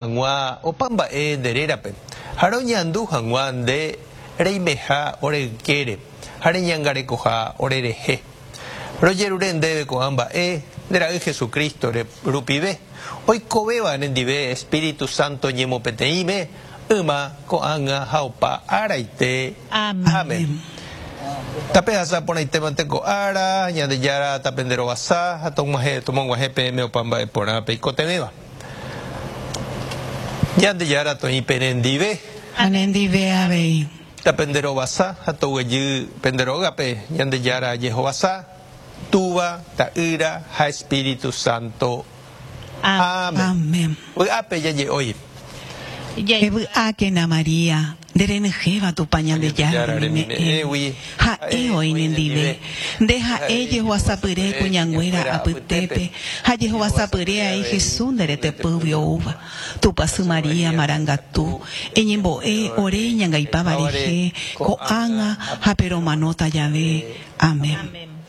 Hag̃ua opa mba'e nde rérape, ha roñandu hag̃ua nde reimeha ore ykére ha reñangarekoha ore rehe. Rojerure ndéve ko'ã mba'e nde Ra'y Jesucristo rupive, oikovéva nendive Espíritu Santo ñemopeteĩme, yma, ko'ág̃a ha opa áraite. Amén. Tapehasa porãitémante ko ára, Ñandejára tapenderovasa ha tomog̃uahẽ peẽme opa mba'e porã peikotevẽva. Ñandejára toĩ penendive. Ha nendive avei. Tapenderovasa ha toguejy pende rógape Ñandejára jehovasa, Túva, Ta'ýra ha Espíritu Santo. Amén. Amén. Vy'ápe jaje'ói. Evy'ákena María, nde renyhẽva Tupã Ñandejára remime'ẽgui, ha'e oĩ nendive. Nde ha'e jehovasapyre kuñanguéra apytépe, ha jehovasapyre aĩ Jesús nde retepýgui oúva. Tupã sy María marangatu, eñembo'e ore iñangaipáva rehe, ko'ág̃a ha pe romanóta jave. Amén.